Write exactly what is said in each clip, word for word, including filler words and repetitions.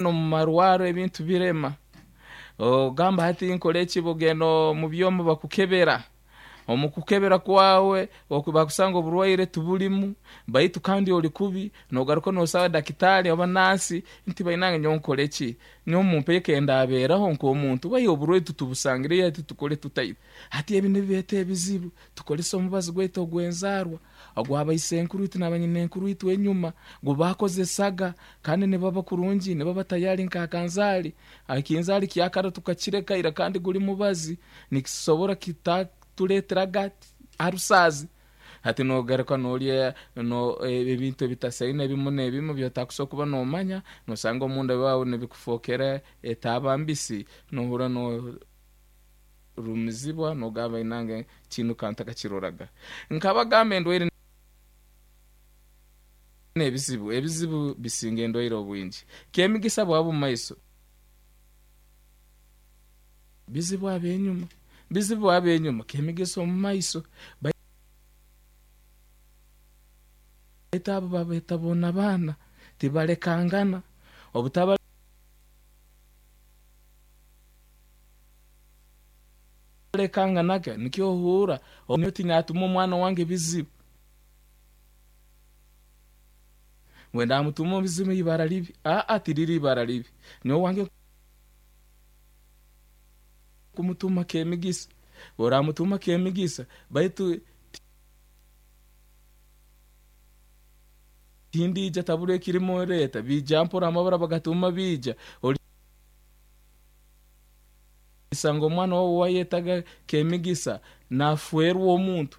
Omu marwaro ebintu birema, ogamba hati nkole ki? Bugenda omu byoma bakukebera, omu kukebera kwawe bakusanga oburwaire tiburimu, baitu kandi ori kubi. Nogaruka nosaba dakitaari oba nansi nti bainange nyowe nkole ki? Nyowe mumpe kendabeeraho nk'omuntu, baitu oburwaire titubusangireyo, hati tukole tuta itwe? Hati ebi nibireeta ebizibu. Tukozese omubazi gwaitu ogw'enzaarwa ogw'abaisenkuru itwe n'abanyinenkuru itwe enyuma gubaakozesaga, kandi nibaba kurungi, nibaba tayari nk'akanzaali. Ekinzaali kyakara tukakireka ira, kandi guli mubazi nikisobora kitatuleeteraga arusaazi. Hati nogaruka norya no ebintu ebitasaine ebimu n'ebimu byotakusobora kuba nomanya, nosanga omunda waawe nibikufookera etaaba mbisi, nohurra norumizibwa, nogamba inange kinu kantakakiroraga. Nkabagamba endwaire n'ebizibu, ebizibu bisinga endwaire obwingi. Kemigisa bwaba mumaiso, bizibu ab'enyuma, bizibu ab'enyuma, kemigisa omu maiso. Baitu abo babeeta boona baana, tibalekangana. Obutabalekanganaga nikyo ohuurra nyowe tinyatuma omwana wange ebizibu. Ngu ndamutuma ebizibu ibara libi, aa tiriri ibara libi. Nyowe wange kumutuma kemigisa, oramutuma kemigisa, baitu tindija tabura ekirimu leeta, biija mpora amabara bagatuma biija. Olisanga omwana wawe wayetaga kemigisa nafwerwa omuntu,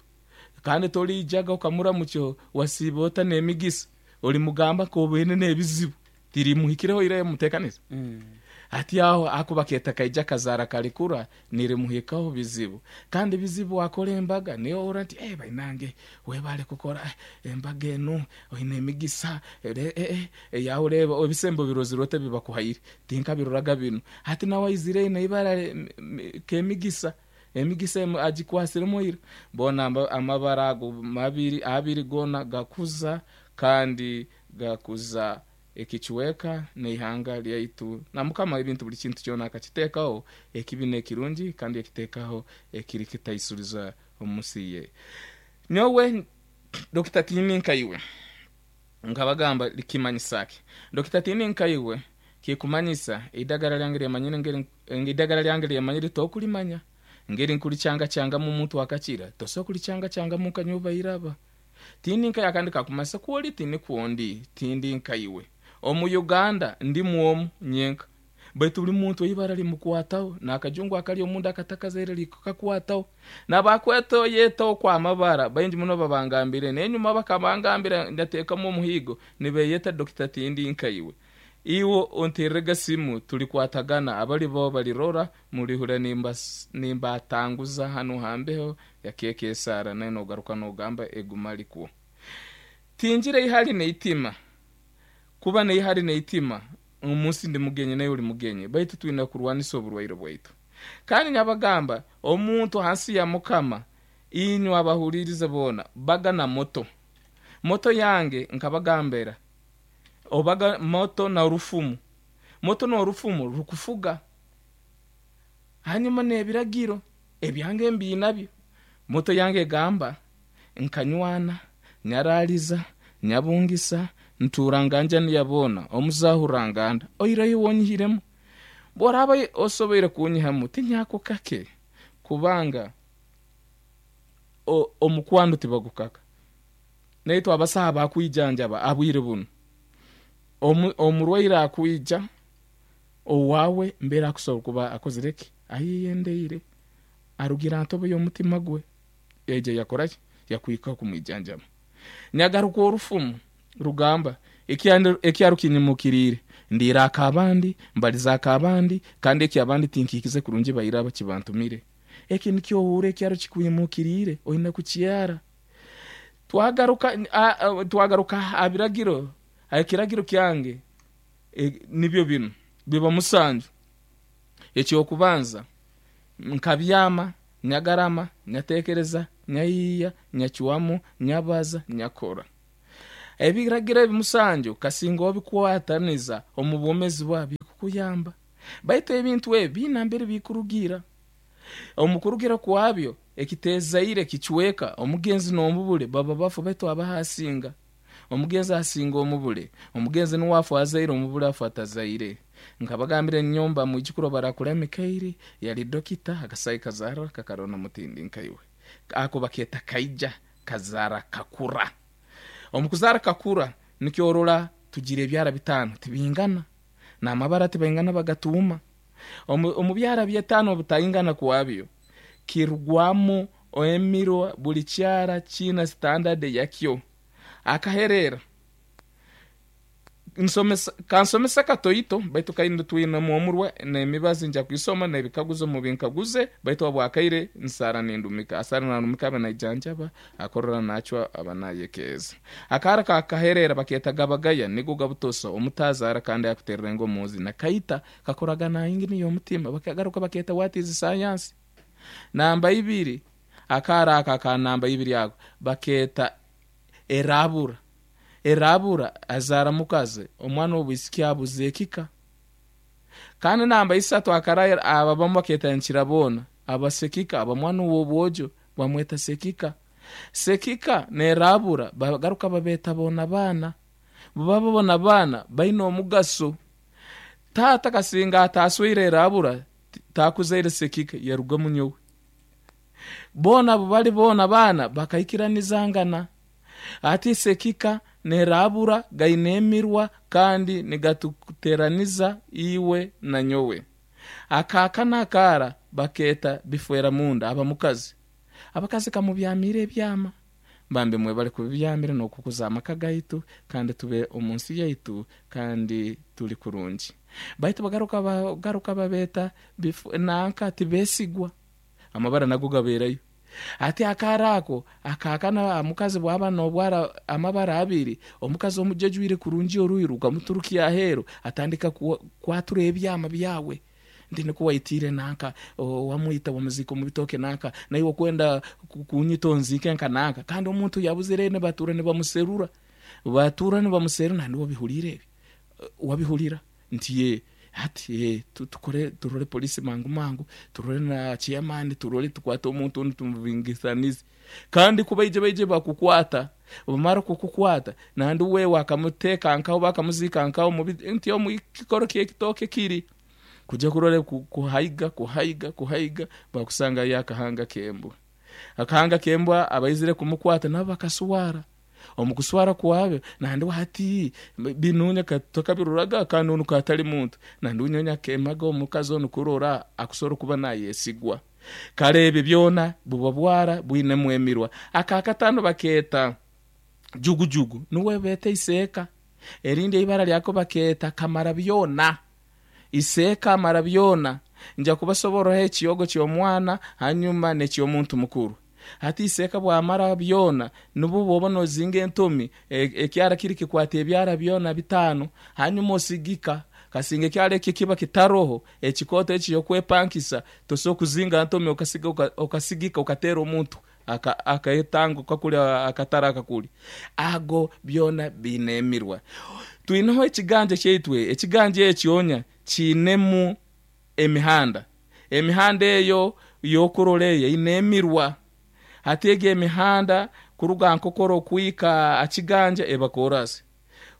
kandi toriijaga okamuramukya wasiiba ota n'emigisa, olimugamba nk'obaine n'ebizibu, tirimuhikireho ira muteekanize. Hati aho akuba keeta kaija kazaara kalikura nirimuhikaho bizibu. Kandi bizibu akora embaga niyo ohurra nti eh bainange webale kukora embaga enu, oine emigisa, eh yawe reeba ebisembo birozire ota ebi bakuhaire, tinkabiroraga binu. Hati nawe aizire aine ibara kemigisa, emigisa agikwasiremu ira. Boona amabara ago mabiri abiri goona gakuza, kandi gakuza ekicweka n'eihanga lyaitu. Na Mukama ebintu buli kintu kyona akakiteekaho ekibi n'ekirungi, kandi yakiteekaho ekiri kitaisuriza omu nsi ye. Nyowe Dokita Tindi nkaiwe, nkabagamba likimanyisa ki? Dokita Tindi nkaiwe kikumanyisa eidagara lyange lyamanyire ngeri, eidagara lyange lyamanyire tokulimanya, ngeri nkulikyangakyangamu omuntu akakira, tosobola kulikyangakyangamu nka nyowe bairaba. Tindi nkaiwe akandi kakumanyisa kwoli tinikwo ndi, tindi nkaiwe. Omu Uganda ndimu omu nyenka, baitu buli muntu eibara limukwataho, n'akajungu akali omunda akatakazaire likakwataho. N'abakweta yeta okwo amabara baingi muno babangambire, n'enyuma bakabangambira ndateekamu omuhiigo nibeyeta Dokita Tindi nkaiwe. Iwe ontererega simu tulikwatagana, abali bo balirora mulihurra nimbatanguza hanu hambeho ya keeka esaara, nawe nogaruka nogamba eguma likwo. Tingira ihali n'eitima, kuba n'ihali n'eitima omunsi ndi mugenyi nawe oli mugenyi, baitu twine kurwanisa oburwaire bwaitu. Kandi nyabagamba omuntu hansi ya Mukama, inywe abahulirize boona, baga na moto. Moto yange nkabagambira, obaga moto na rufumu. Moto n'orufumu rukufuga. Hanyuma n'ebiragiro ebyange mbiinabyo. Moto yange egamba nkanywana, nyaraaliza, nyabungisa, ntuura nganjani ya boona, omuzahurra nganda, oihireho wonyihiremu. Bw'oraaba osoboire kunyihamu tinyakukake, kubanga omukwano tibagukaka. Naitwe abasaho abakwijanjaba abwire bunu, omurwaire akwija owaawe mbere akusobora kuba akozire ki? Ayeyendeire, arugire ha ntobo y'omutima gwe, yaija yakora ki? Yakuhikaho kumwijanjaba. Nyagaruka orufumu rugamba ekyaro kinyimukiriire, ndiira ak'abandi, mbaliza ak'abandi, kandi eky'abandi tinkihikize kurungi bairaba kibantumire. Eki nikyo ohuurra ekyaro kikwimukiriire, oine kukyara. Twagaruka twagaruka ha biragiro, ekiragiro kyange nibyo binu, biba musanju. Eky'okubanza nkabyama, nyagarama, nyateekereza, nyayiiya, nyacwamu, nyabaza, nyakora. Ebiragiro ebi musanju kasinga obikwataniza omu bwomezi bwawe bikukuyamba. Baitu ebintu ebi biina mbere bikurugira. Omu kurugira kwabyo ekitezaire kicweka omugenzi n'omubule baba bafu, baitu abahasinga omugenzi asinga omubule, omugenzi nuwe afu azaire, omubule afu atazaire. Nkabagambira enyomba mwijukuru barakura Mikairi yali dokita akasai kazara kakarona mutindi nkaiwe ako baketa kaija kazara kakura. Omukuzara kakura nikyorora tugira ebyara bitano tibingana n'amabara tibaingana bagatuma. Omu byara byetano butaingana kwabyo kirugwamu emirwa buli kyara kina standard yakyo. Akaherera nsomesa kansomesa katoito baitu kaindu twina muomurwa n'emibazi nja kwisoma n'ebikaguzo mu binkaguze baitu abwakaire nsara nindumika asara nandumika abanaijanjaba akorora nachwa abanayekeza. Akara kakaherera baketa gabagaya nigo gabutosa omutazara kandi akuterera ngomuzi na kaita kakoragana ingini y'omutima bakagaruka baketa what is science. Namba ibiri akara aka ka namba ibiri ako baketa erabura. Erabura azara mukaze omwana obwisiki abuzekika. Kandi namba isatu akara ababamu baketa nkirabona abasekika abamwana w'obwojo bamweta sekika. Sekika nerabura bagaruka babeta bona bana baba bona bana baina omugaso. Tata kasinga ataswire erabura takuzaire sekika yaruga munyowe. Bona bali bona bana bakaikiranizangana. Ati sekika nerabura gainemirwa kandi nigatuteraniza iwe na nyowe. Akaka nakara baketa bifwera munda abamukazi. Abakazi kamubyamire ebyama bambe mwe bali kubyamire nokukuza amaka gaitu kandi tube omunsi yaitu kandi tuli kurungi. Baitu bagaruka bagaruka babeta nanka tibesigwa amabara nago gaberayo. Ati akarako akakana omukazi bwaba nobwara amabara abiri omukazi omujejwire kurungi oruiru ukamuturukia ahero atandika kwatura ebyama byawe ndi nikuwaitire nanka wamuita wamuziko mubitoke nanka naiwe kwenda kunyito nzike nka nanka kandi omuntu yabuzire ne batura ne bamuserura batura ne bamuserura nandi wabihulire ebi wabihulira nti ye ati ye tukore turole polisi mangu mangu turole na chairman turole tukwata omuntu tumubingisanize kandi kubaije baije bakukwata bamara kukukwata nandi we wakamuteka nkaho bakamuzika nkaho nti omukikoro kitoke kiri kuja kurole kuhaiga kuhaiga kuhaiga bakusanga yakahanga kembwa akahanga kembwa abaizire kumukwata nabo bakaswara omukuswara kwabe nandi hati binunya katoka biruraga kanunu katali muntu nandi unyonya kemaga omukazi ono kurora akusoro kuba nayesigwa karebe byona buba bwara bwine mwemirwa. Akakatano baketa jugujugu nuwe bete iseka erinde ibara lyako baketa kamara byona iseka mara byona nja kubasobora ekiyogo ky'omwana hanyuma n'eky'omuntu mukuru. Hati iseka bwamara byona nubu boba nozinga entomi ekyara kiri kikwata ebyara byona bitano hanyuma osigika kasinga ekyara eki kiba kitaroho ekikoto eki yokwepankisa toso kuzinga ntomi okasiga okasigika okatera omuntu akaetango kakuli akatara kakuli ago byona binemirwa. Twinaho ekiganja kyeitwe ekiganja ekyonya kinemu emihanda emihanda eyo yokuroleye inemirwa. Hatege emihanda kuruga nkokoro kuika akiganja ebakorasi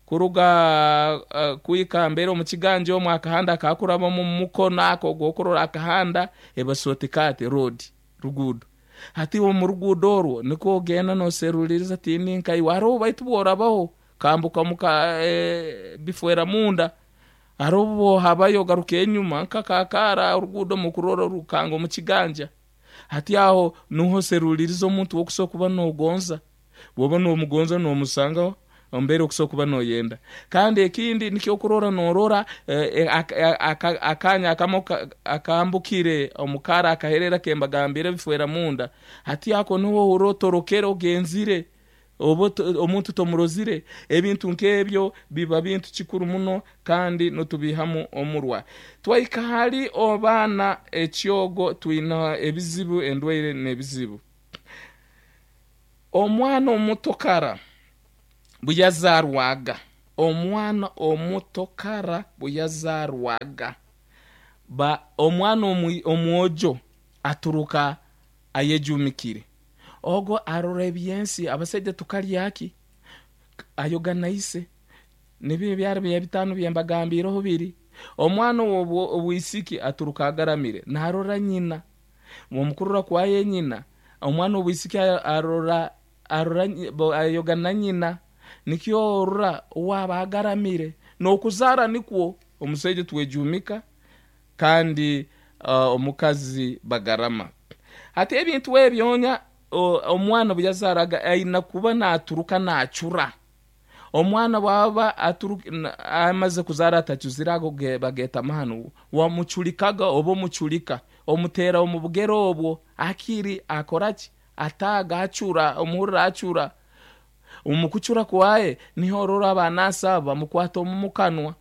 kuruga uh, kuika mbere mu kiganja omwe akahanda akakuraba mu mukono ako gokorora akahanda ebasotikate road rugudo. Hati wo mu rugudo orwo niko genda no seruliriza tini nkai waro baitu borabaho kambuka muka e, bifwera munda arobo habayo garuke enyuma nkakakara urugudo mukuroro rukango mu kiganja. Hati aho nuho seruliriza omuntu wokusokuba nogonza boba no mugonza no musanga ombere okusokuba noyenda. Kandi ekindi nikyo kurora norora eh, akanya akamoka akambukire omukara akaherera kembagambire bifwera munda. Hati ako nuho urotorokero genzire obo omuntu tomurozire ebintu nkebyo biba bintu kikuru muno kandi notubihamu omurwa. Twaika hali obana ekyogo twina ebizibu endwaire n'ebizibu. Omwana omutokara Buyazarwaga omwana omuto kara buyazarwaga ba omwana omwojo aturuka ayejumikire ogo arora ebyensi abasaija tukalyaki ayoga naise nibyo ebyaro bya bitano byembagambireho biri omwana obwisiki aturuka agaramire narora nyina omukurora kwaye nyina omwana obwisiki arora arora ayoga na nyina nikyo orora owaba agaramire n'okuzara nikwo omusaija twejumika kandi uh, omukazi bagarama. Hati ebintu ebyonya omwana buyazaraga aina kuba naturuka nachura. Omwana bwaba amaze kuzara atachuzire ago bageta mahanu wamuchulikaga oba omuchulika omutera omu bugero obwo akiri akoraki ataga achura omuhurira achura omukuchura kwaye niho orora abanasa bamukwata omu mukanwa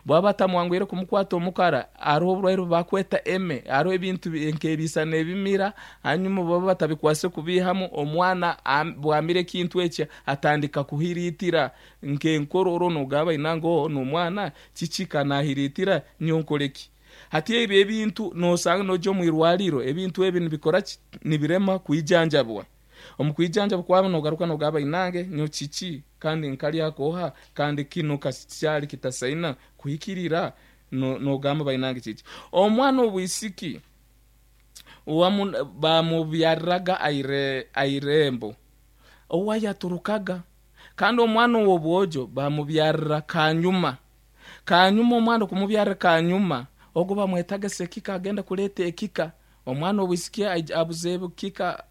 bwaba batamwangwire kumukwata omukara hariho oburwaire bakweta eme hariho ebintu nk'ebisa n'ebimira hanyuma baba batabikwase kubihamu omwana bwamira ekintu ekyo atandika kuhiritira nk'enkororo nogaba inango n'omwana kiki kanahiritira nyonkoreki. Hati ebyo ebintu nosanga noja omu irwariro ebintu ebi nibikora nibirema kwijanjabwa omu kwijanjabwa kwabo nogaruka nogaba inange nyo kiki kandi nkalyakoha kandi kino kakyali kitasaina kuhikirira nogamba bainange kiki. Omwana obwisiki bamubyariraga aire airembo owayaturukaga kandi omwana ow'obwojo bamubyarira kanyuma kanyuma omwana kumubyarira kanyuma ogo bamwetaga sekika agenda kuleta ekika omwana obwisiki abuze kika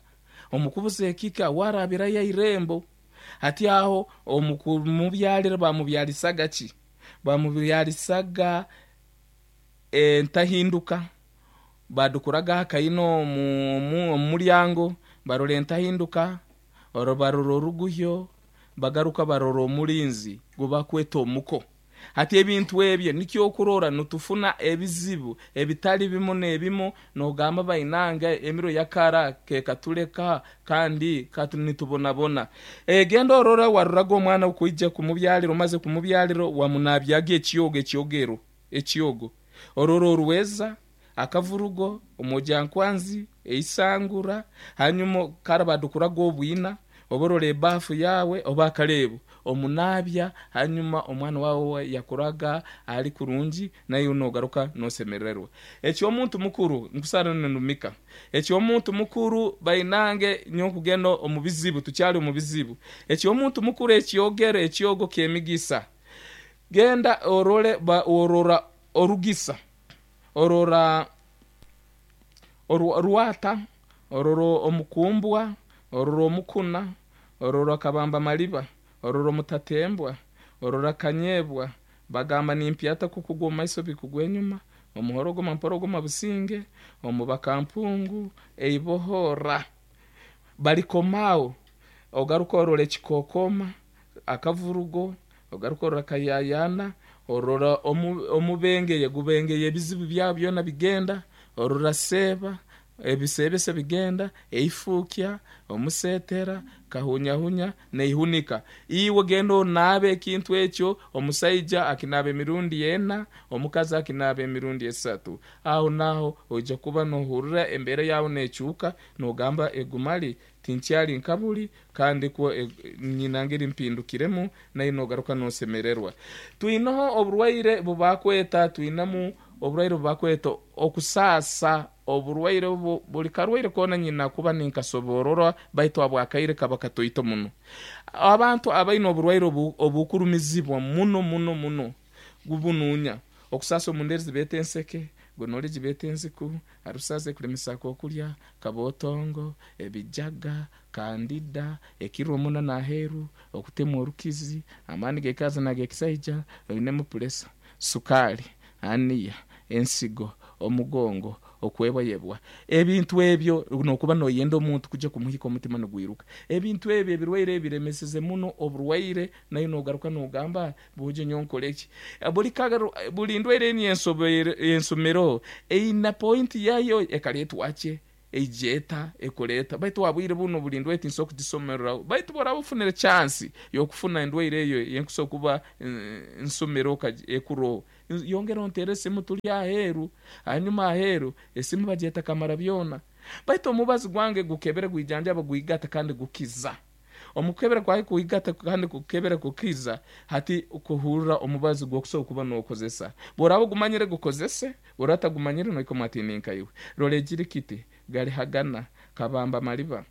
omukubuza ekika warabirayo irembo. Hati aho omukumubyalira bamubyalisaga ki bamubyalisaga entahinduka badukuraga akaino mu mulyango barora entahinduka oro barora oruguhyo bagaruka barora omulinzi gubakweta omuko. Hati ebintu ebyo nikyo okurora nitufuna ebizibu ebitali bimu n'ebimu nogamba bainanga emiro yakara kekatuleka kandi nitubonabona. Egenda orora waroraga omwana okuija kumubyalira omaze kumubyalira wamunabyaga ekyogo ekyogero ekyogo orora oruweza akavurugo omojankwanzi eisangura hanyuma kara badukuraga obwina oborora ebafu yawe oba akalebu omunabya hanyuma omwana wawe yakuraga ali kurungi naye nogaruka nosemererwa. Ekyo omuntu mukuru nkusara nenumika ekyo omuntu mukuru bainange nyokugenda omu bizibu tukyali omu bizibu ekyo omuntu mukuru ekyogero ekyogo kemigisa genda orole ba, orora orugisa orora oruwata orora omukumbwa orora omukuna orora kabamba maliba orora omutatembwa orora kanyebwa bagamba nimpyata kukugwa omumaiso bikugwa enyuma omuhorogoma mporogoma businge omubakampungu eibohora balikomao ogaruka orora ekikokoma akavurugo ogaruka orora kayayana orora omubengeye gubengeye ebizibu byabo byona bigenda orora seba ebisebese bigenda eifukya omusetera kahunyahunya neihunika. Iwe genda onabe ekintu ekyo omusaija akinaba emirundi ena omukazi akinaba emirundi esatu aho naho oija kuba nohurira embera yawe nekyuka nogamba egumali tinkyali nkabuli kandi kwo e, nyinangeri mpindukiremu naye nogaruka nosemererwa. Twinaho oburwaire bubakweta twinamu oburwaire bubakweta okusasa oburwaire buli karwaire kona nyina kuba ninkasoborora baitu abwakaire kaba katoito muno. Abantu abaine oburwaire obukurumizibwa muno muno muno gubununya okusasa omunderi bete enseke gonolegi bete enziku arusaze kulemisako okulya kabotongo ebijaga kandida ekiro muna naheru okutema orukizi amani gekaza nagekisaija oinemu puresa sukali aniya ensigo omugongo okwebwayebwa ebintu ebyo nokuba noyenda omuntu kuja kumuhika omutima nogwiruka ebintu ebyo ebirwaire ebiremeseze muno oburwaire nayo nogaruka nogamba buje nyonkoleki buli kagaru buli ndwaire eni ensomero eina point yayo ekaletwache Eijeta ekoleta baitu wabwire buno buli ndwaire tinsobola kugisomereraho, baitu boraba ofunire chance yokufuna endwaire eyo yenkusobola kuba nsomere ekuroho, yongera ontere esimu turi aheeru. Hanyuma aheeru esimu bagyeta kamara byona. Baitu omubazi gwange gukebere, gwijanjaba, gwigata kandi gukiza. Omukebera kwawe kuigata kandi kukebera kukiza, hati kuhurra omubazi gwokusobola kuba nokozesa. Bworaba ogumanyire gukozese, bworaba otagumanyire noikoma ati ninkaiwe rora ejirikiti garihagana kabamba maliba.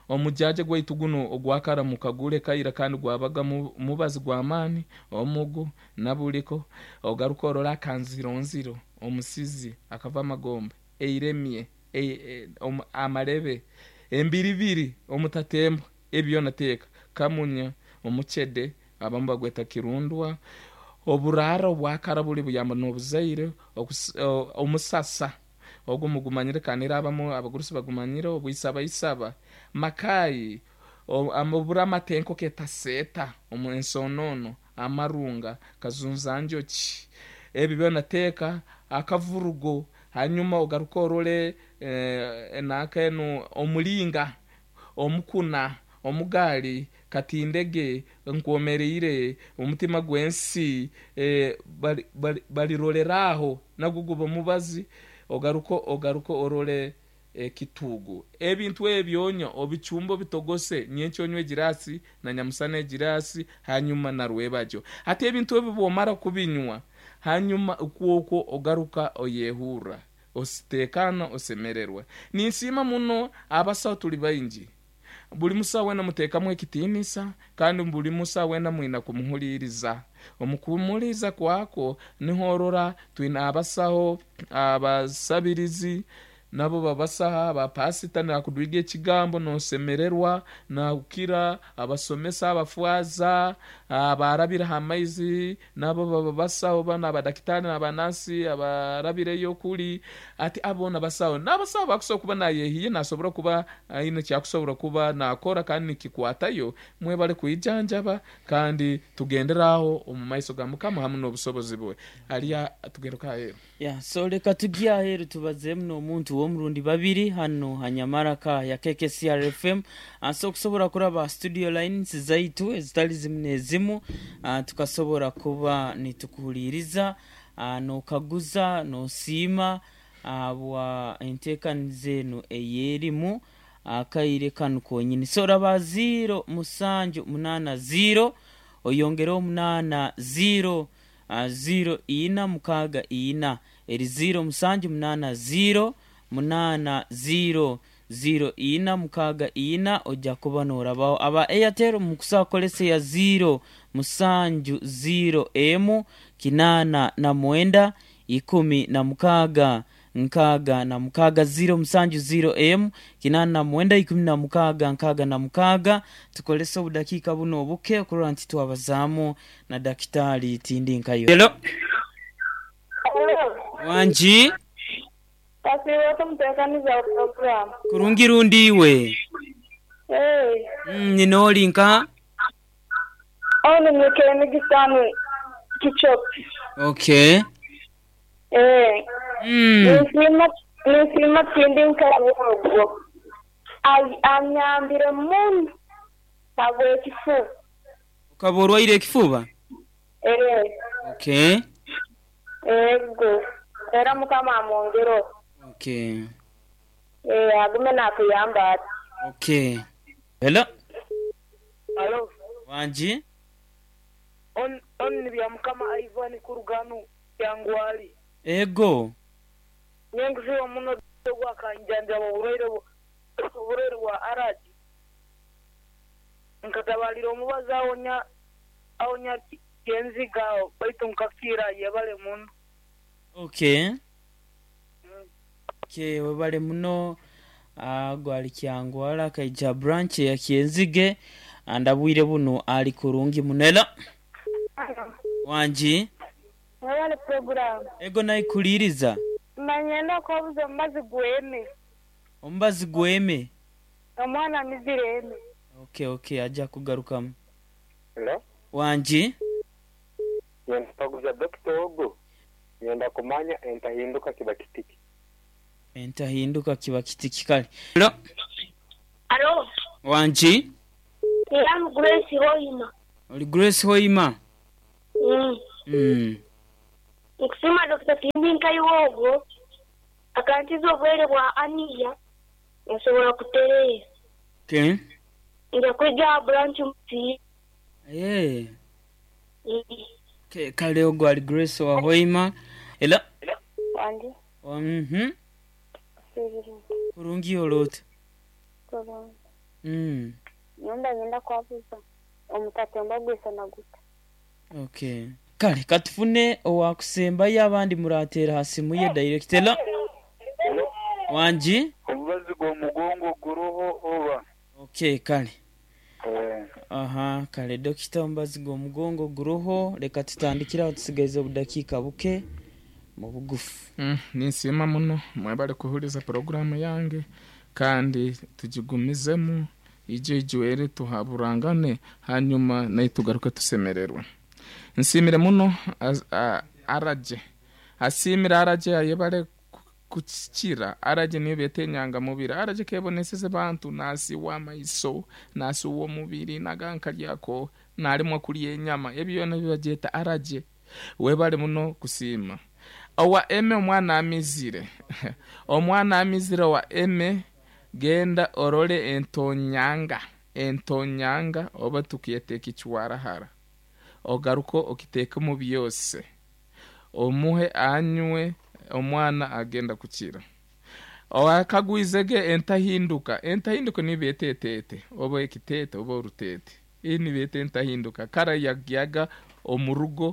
Omujaja gwaitu guno ogwakara mukagure kaira kandi gwabaga mubazi gw'amaani omugu nabuliko. Ogaruka orora akanzironziro, omusizi akava amagombe, eiremye, amarebe, embiribiri, omutatembo, ebi byona teeka kamunya, omucede abamu bagweta kirundwa, oburara obwakara buli buyamba n'obuzaire, omusasa ogu mugumanyire kandi era abamu abagurusi bagumanyire, obwisabaisaba, makayi, obura amatenko ketaseeta, ensoonono, amarunga, kazunzanjoki, ebi byona teeka akavurugo. Hanyuma ogaruke orole nanka enu omulinga, omukuna, omugaali, katindege, nkwomereire, omutima gw'ensi, bariroreraho nagwo guba mubazi. Ogaruke ogaruke orole ekituugu. Ebintu ebyo onywa obicumbe obitogose, nyenkya onywe egiraasi na nyamusana egiraasi, hanyuma narwebagyo. Hati ebintu ebi bwomara kubinywa, hanyuma kwokwo ogaruka oyehurra ositeekaana osemererwa. Ninsiima muno abasaho tuli baingi, buli musaho weena muteekamu ekitiinisa kandi buli musaho weena mwina kumuhuliiriza. Omu kumuhuliiriza kwakwo niho orora twine abasaho abasabirizi nabo babasaho, abapasita nakudwiga ekigambo nosemererwa nakukira, abasomesa, abafwaza, abarabire ha maizi nabo baba basaho, banu abadakitaari n'abanansi abarabireyo kuri, ati abo boona basaho. N'abasaho bakusobola kuba nayehiye nasobora kuba aine ekyakusobora kuba nakora kandi nikikwatayo. Mwebale kwijanjaba kandi tugendere aho omu maiso ga Mukama hamu n'obusobozi bwe. Hariya tugaruke aheeru. Ya, so leka tujye aheeru tubazeemu n'omuntu w'omurundi babiri hano hanyamaraka ya K K C R F M. So okusobola kuraba studio lines zaitu ezitali zimu n'ezimu, tukasobora kuba nitukuhuliiriza, n'okaguza, n'osiima bwa enteekaniza enu ey'erimu akaire kanu konyini. So raba ziro musanju munaana ziro oyongereho munaana ziro ziro ina mukaaga ina, eri ziro musanju munaana ziro munaana ziro ziro ina mukaaga ina, ojja kuba n'orabaho. Aba Airtel mukusobola kukozesa eya ziro musanju ziro emu kinaana na mwenda ikumi na mukaaga nkaaga na mukaaga, ziro musanju ziro emu kinaana na mwenda ikumi na mukaaga nkaaga na mukaaga. Tukozese obudakiika buno obuke okurora nti twabazaamu na Dakitaali Tindinkayo. Hello. Wangi. Kasiiba omuteekaniza wa program. Kurungi rundi iwe? Hey. Mm, nina oli nka? Ono Nyekemigisani Kichopi. Okay. Eh. Mm. Ninsiima ninsiima Tindinkayo ogwo. Anyambire muno habw'ekifuba. Okaba orwaire ekifuba? Eh. Okay. Ego. Era Mukama amwongereho. Okay. Eh, agume nakuyamba ati. Okay. Hello. Alo. Wangi. On on bya Mukama Ivan kuruganu yangwali. Ego. Nyenguziwa muno gwakanjanjaba oburwaire oburwaire bwa araji. Nkatabalira omubazi awonya awonya kenziga baitu nkakira, yebale muno. Okay. Okay, webale muno. Gwali Kyangwala akaija branch ya Kyenzige, andabwire buno ali kurungi muno. Hello. Wangi. Mwebale program. Ego, naikuliiriza. Manyenda kwabuza omubazi gweme. Omubazi gweme. Omwana amizire eme. Okay, okay, ajja kugarukamu. Hello? Wangi. Nyenda kuguza dokita ogu, nyenda kumanya entahinduka kiba kitiki. Entahinduka kiba kiti kikale. Hello. Alo, Wangi? I'm Grace Hoima. Oli Grace Hoima. Mm. Mm. Nkusima Doctor Tindi Nkaiwogo akantiza obwere bwa aniya nsobola kutereera. Okay. Nja kwijja branch muti. Eh. Okay, kale ogwo ali Grace wa Hoima. Hello. Wangi. Mhm. Kurungi olota. Mm. Nyumba ngenda kwabuza omutatemba gwisa naguta. Okay. Kale katufune owakusembayo abandi muratera ha simu ye direct. Hello. Wangi? Omubazi gw'omugongo guroho oba. Okay, kale. Eh. Aha, kale dokita omubazi gw'omugongo guroho, leka tutandikiraho tusigaize obudakiika buke mu bugufu. Mm, ninsiima muno mwebale kuhuliza poroguramu yange kandi tugigumizemu ijo ijwere tuhaburangane hanyuma naye tugaruke tusemererwe. Nsiimire muno az- a- araje asiimire araje ayebale ku- kukikira araje niyo beeta enyangamubiri araje keboneseze bantu nasiwa amaiso nasiwa omubiri nagankalyako nalimwa kulya enyama ebyo byona bibagyeta araje. Webale muno kusiima. Owa eme omwana amizire omwana amizire owa eme genda orole entonyanga entonyanga oba tukiyeta ekichwarahara ogaruko okiteeke mu byose omuhe anywe omwana agenda kukira. Akagwizege entahinduka entahinduka niyo beeta eteete oba ekiteete oba oruteete iyi nibeeta entahinduka kara yagyaga omurugo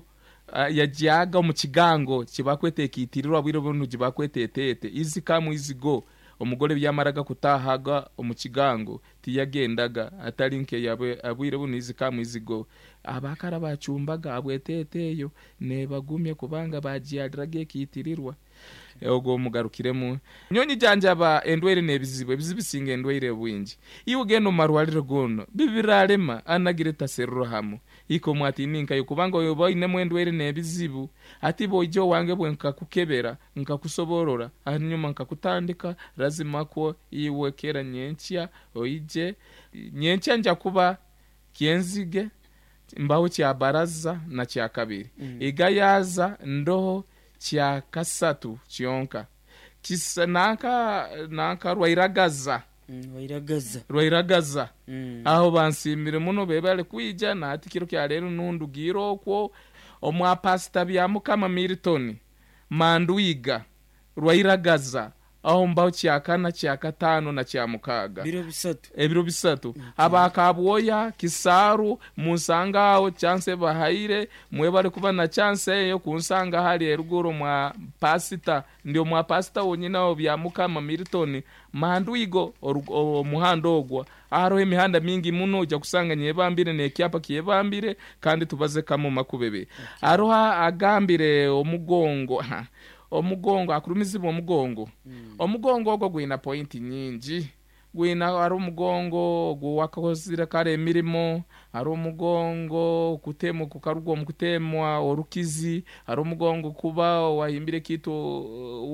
uh, yagyaga omu kigango kibakweta ekiitirirwa bwire bunu gibakweta eteete izi kamu izi go omugore byamaraga kutahaga omu kigango tiyagendaga atali nke yabwe abwire bunu izi kamu izi go abakara bacumbaga abweteete eyo nebagumye kubanga bagyaliraga ekiitirirwa. Ogwo mugarukiremu nyonyi janjaba endwaire n'ebizibu ebizibu bisinga endwaire bwingi iwe ogenda omu marwariro gono bibirarema anagire taseruro hamu iko mwatininkayo kubanga oba oinemu endwaire n'ebizibu ati boija owange bwe nkakukebera nkakusoborora hanyuma nkakutandika lazima kwo iwe kera nyenkya oije nyenkya nja kuba kyenzige mbaho kya baraza na kya kabiri mm. Igayaza ndoho kya kasatu kyonka kisa nanka nanka rwairagaza Mm, wairagaza. rwairagaza Mm. aho bansimire muno bebale kwija nati kiro kya leero nundugiire okwo omwa pasita bya mukama Milton Mandwiga rwairagaza aho mbaho kya kana kya katano na kya mukaaga Biro bisatu. ebiro bisatu. Abakabwoya Kisaaru munsanga aho chance bahaire mwebale kuba na chance eyo kunsanga hali eruguru mwa pasita ndio mwa pasita wonyina aho bya mukama Milton Mandwigo omuhanda ogwo hariho emihanda mingi muno ojja kusanga nyebambire n'ekyapa kyebambire kandi tubaze kamu makubebe. Hariho agambire omugongo omugongo akurumizibwa omugongo mm. Omugongo ogwo gwina pointi nyingi gwina hari omugongo guwakozire kare emirimo hari omugongo kutema kukarugwa omu kutemwa orukizi hari omugongo kuba wahimbire kitu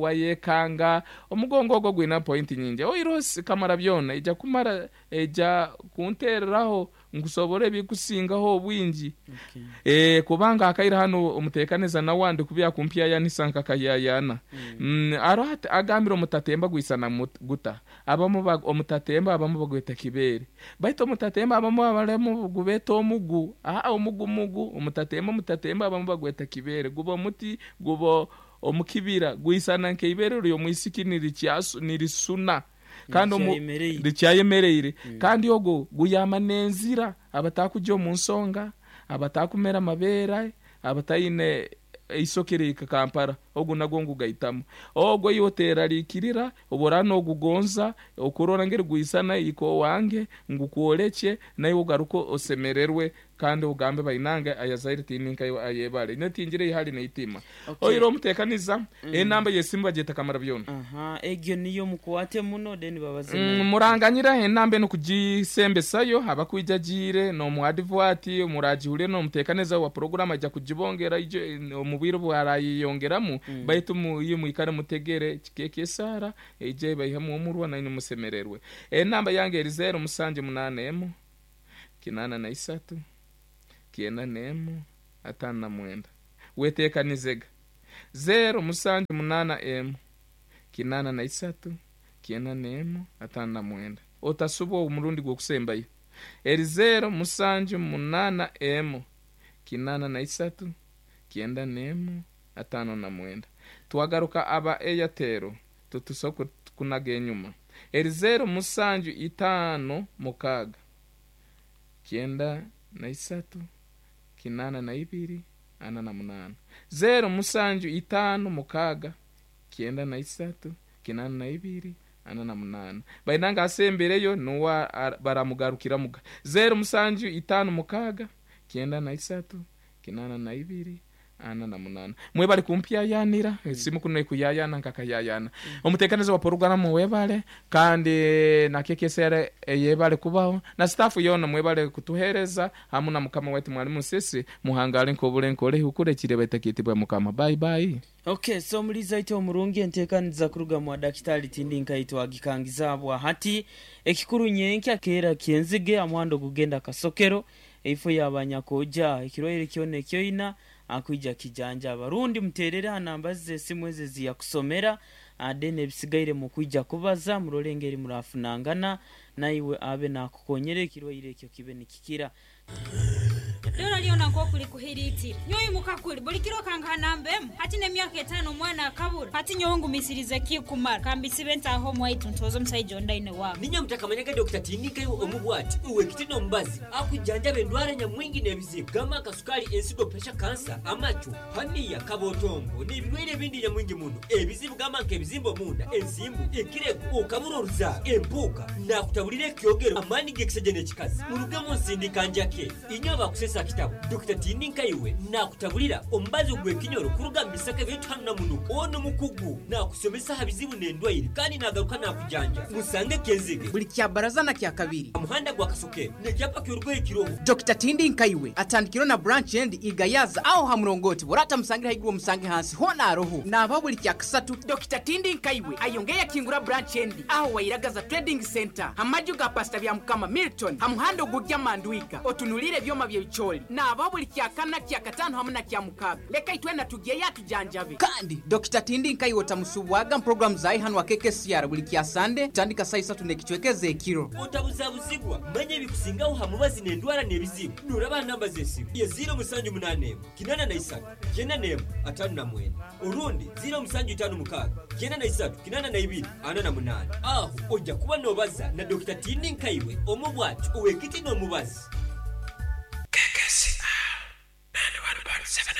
wayekanga omugongo ogwo gwina pointi nyingi oirosi kamara byona ija kumara ija kuntereraho nkusobora ebikusingaho obwingi. Okay. Eh kubanga akaira hano omutekaneza nawandi kubya kumpyayanisa nkakayayana mm. Mm, aro agambira omutatemba gwisana guta abamu omutatemba abamu bagweta kibere baitu omutatemba abamu abalemu gubeta omugu aa omugu mugu omutatemba omutatemba abamu bagweta kibere guba omuti guba omukibira gwisana nkeibere ryo mwisiki nirikyasu nirisuna kandi rikyayemereire mm. Kandi ogo guyama nenzira abatakujya omu nsonga abatakumera amabera abatayine isokere Kampala ogu nagwo ngugaitamu ogwo yoterarikirira obora nogugonza okurora ngeri gwisana iko wange ngukuoleke naye ugaruko osemererwe Kandi ugambe bainange ayazaire tininka ayebale netingire ihali neitima. Okay. Oiro omutekaniza enamba yesimu bageta kamara byona. Aha, egyo niyo mukwate muno then babaze. Mm, muranganyira enamba eno kugisembesayo abakwija jire nomuadivwati murajihulire nomutekaneza wa program ajja kugibongera ijo omubwiro bwarayiyongeramu. Mm. Baitu mu- iyo mwikare mutegere kikeke esara ije baihemu omurwa naine musemererwe. Enamba yange eri zero musanju munane emu kinana na isatu kienda nemu atano na mwenda. Wetekanizega zero musanju munana emu kinana na isatu kienda nemu atano na mwenda. Otasubwa omurundi gw'okusembayo eri zero musanju munana emu kinana na isatu kienda nemu atano na mwenda. Twagaruka aba Airtel tutusoka kunaga enyuma eri zero musanju itano mukaga kienda na isatu kinana na ibiri ana na munana. Zero musanju itano mukaga kienda na isatu kinana na ibiri ana na munana. Bainanga asembereyo nuwa ar- baramugarukira muga zero musanju itano mukaga kienda na isatu kinana na ibiri ana na munana. Mwe bali kumpyayanira esimu kuno ekuyayana nkakayayana. Omutekanizo wa programu webale kandi na K K S R eyebale kubaho na staff yona mwebale kutuhereza hamu na mukama wetu mwalimu sisi muhangale nkobule nkole hukure kire batakitibwa mukama. Bye bye. Okay, so muliza ite omurungi enteekaniza kuruga mwa dakitari tindi nkaitwa agikangizabwa hati ekikuru nyenkya keera kyenzige amuhando gugenda kasokero eifo yabanyakoja ekirwaire kyona ekyoina akwija kijanja abarundi muterere hanamba zesimu eze ziyakusomera ade ebisigaire mukwija kubaza murole engeri murafunangana naiwe abe nakukonyera ekirwaire ekyo kibe nikikira. Dora liona nk'okuli kuhiritira nyowe mukakuli buli kiro kanganambemu hati n'emyaka etaano omwana akabura hati nyowe ngumisirize kikumara kambisibe ntaho omwaitu ntoze omusaija ondaine waabo. Ninya mutakamanyaga Dokita Tindikayo omubwati uwekiti n'omubazi akujanjaba endwara nyamwingi n'ebizibu gamba akasukali, ensigo, pesha, kansa, amacu, haniya, kabotongo n'ebirwaire ebindi nyamwingi muno. Ebizibu gamba nk'ebizimba omunda, ensimbu, ekirego, okabura oruzaaro, empuuka. Nakutabulira ekyogero amaani g'ekisajja n'ekikazi murugemu nsindika njake inywe abakusesa kitabo. Dokita Tindikaiwe nakutabulira omubazi gw'ekinyoro kuruga mu bisaka ebintu hano na muno. Ono mukugu nakusomesa ha bizibu n'endwaire kandi nagaruka nakujanja. Musange Kenzige buli kya baraza na kya kabiri muhanda gwa Kasokero nekyapa ky'orugoye kiroho. Dokita Tindi Nkaiwe atandikiro na branch endi igayaza aho ha murongoti burata musangira haiguru musange hansi hona aroho naba buli kya kasatu. Dokita Tindi Nkaiwe ayongeye akingura branch endi aho wairagaza Trading Center hamaju ga Pastor bya Mukama Milton hamuhando gujya Mandwiga otunulire byoma byebicholi naba buli kya kana, kya katano hamwe na kya mukaga. Leka itwena tugiye yatujanjabe. Kandi Dokita Tindi Nkaiwe otamusubwaga program zayi hano wa K K C R buli kya Sande tandika saa isatu nekichwekeze ekiro. Otabuzabuzibwa, manya ebikusingaho ha mubazi n'endwara n'ebizibu nuraba namba z'esimu ye ziro musanju munane emu kinana na isatu kyenda n'emu atano na mwenda orundi ziro musanju itano mukaaga kyenda na isatu kinana na ibiri ana na munana. Aho ojja kuba nobaza na Dokita Tindi Nkaiwe omubwati owekiti n'omubazi.